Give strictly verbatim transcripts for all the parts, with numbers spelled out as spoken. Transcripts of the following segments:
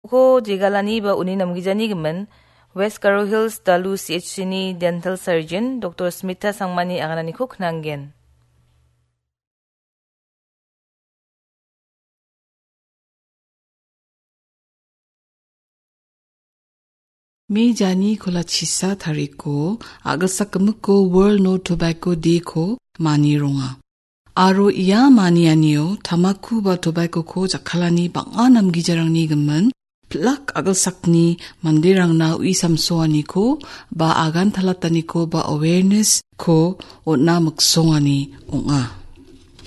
Ko jegalani ba uni namgijani gimin, West Garo Hills Dalu C H C ni dental surgeon Doktor Smita Sangmani agananiko knanggen. Me jani kolachisa tariko, agilsak gimikko World No Tobacco Day ko mani ronga. Aro ia manianio tamaku ba tobacco ko jakkalani bang·a namgijarangni gimin, pilak agilsakni manderangna ui samsoaniko ba agan talataniko ba awareness ko on·a miksongani ong·a.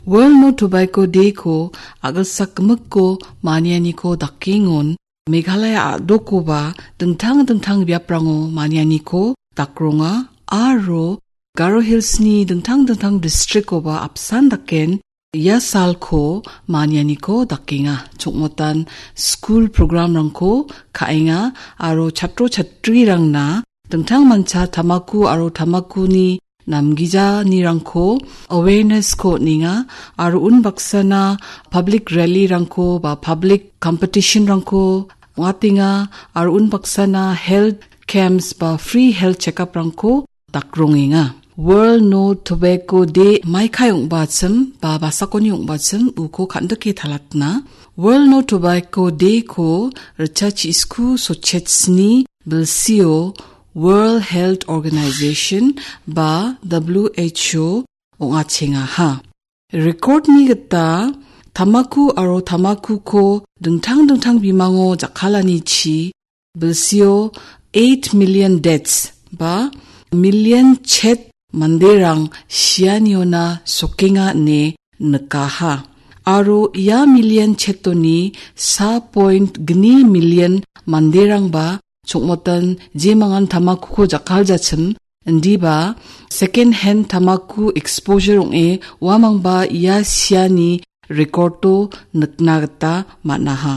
World No Tobacco Day ko agilsak gimikko manianiko dakengon Meghalaya a·dokoba dingtang dingtang biaprango manianiko dakronga aro Garo Hills-ni dingtang dingtang district-oba apsan daken ia salko manianiko dakenga. Chongmotan skul programrangko ka·enga aro chatro chatrirangna dingtang mancha tamaku aro tamakuni namgijanirangko awareness-ko on·enga aro unbaksana public rally-rangko ba public competition-rangko ong·atenga aro unbaksana health camps ba free health checkup-rangko dakrongenga. World No Tobacco Day maikai ong·bachim ba basakoni ong·bachim uko kan·dike talatna. World No Tobacco Day-ko ritchachisku sochetsni bilsio World Health Organization ba W H O ong·achengaha. Record-ni gita tamaku aro tamakuko dingtang dingtang bimango jakkalanichi bilsio eight million deaths ba million chet manderang sianiona sokenga ine nikaha. Aro ia million chetoni sa point gni million manderangba chongmotan jemangan tamakuko jakkaljachim, indiba second hand tamaku exposure ong·e uamangba ia siani record-o nikna gita man·aha.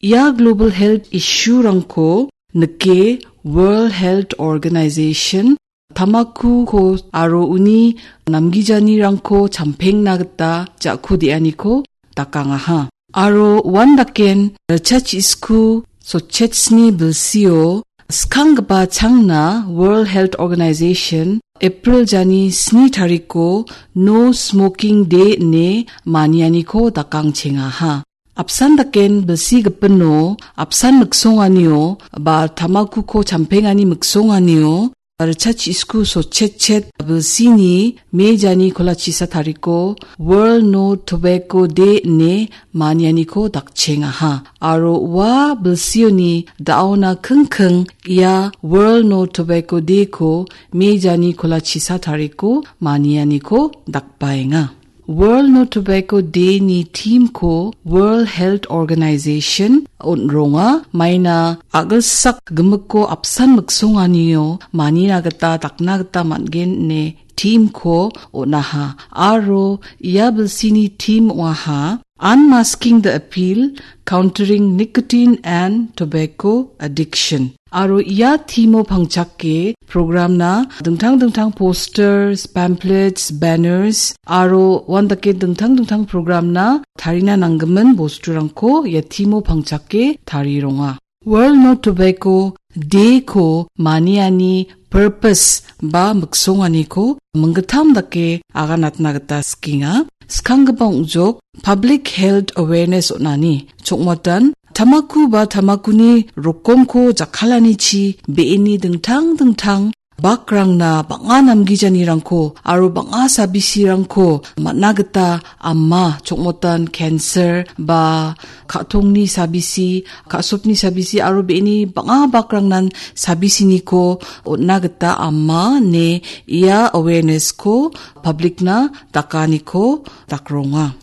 Ia global health issue-rangko nike World Health Organization tamakuko aro uni namgijanirangko champengna gita ja·ku de·aniko dakangaha. Aro uandaken ritchachisku sochetsni bilsio skanggipa changna World Health Organization April jani sni tariko No Smoking Day ine manianiko dakangchengaha. Apsan daken bilsi gipino, apsan miksonganio, ba tamakuko champengani miksonganio, ritchachisku sotchetchet bilsini me jani kolachisa tariko World No Tobacco Day ine manianiko dakchengaha. Aro ua bilsioni da·ona kingking ia World No Tobacco Day-ko me jani kolachisa tariko manianiko dakbaenga. World No Tobacco Day-ni theme-ko World Health Organization on·ronga. Maina agilsak gimikko apsan miksonganio manina gita dakna gita man·gen ine theme-ko on·aha. Aro ia bilsini theme ong·aha Unmasking the Appeal, Countering Nicotine and Tobacco Addiction. Aro ia theme-o pangchake program-na dingtang dingtang posters, pamphlets, banners, aro uandake dingtang dingtang program-na tarina nanggimin bosturangko ia theme-o pangchake tarironga. World No Tobacco Day-ko maniani purpose ba miksonganiko minggittam dake aganatna gita sikenga. Skanggipa ong·jok public health awareness on·ani. Chongmatan tamaku ba tamakuni rokomko jakkalanichi be·eni dingtang dingtang bakrangna bang·a namgijanirangko aro bang·a sabisirangko man·na gita ama, chongmotan cancer ba ka·tongni sabisi, ka·sopni sabisi aro be·eni bang·a bakrangnan sabisiniko on·na gita ama ine ia awareness-ko public-na dakaniko dakronga.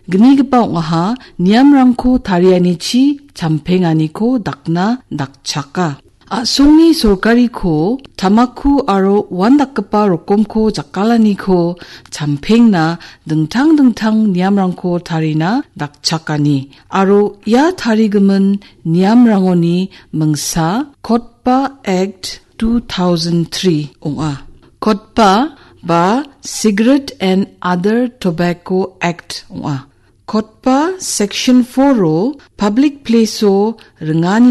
Gnigipa ong·aha, niamrangko tarianichi champenganiko dakna dakchaka. A·songni sorkariko tamaku aro uandakgipa rokomko jakkalaniko champengna dingtang dingtang niamrangko tarina dakchakani. Aro ia tarigimin niamrangoni mingsa COTPA Act two thousand three ong·a. COTPA ba Cigarette and Other Tobacco Act ong·a. COTPA Section four-o public place-o ringani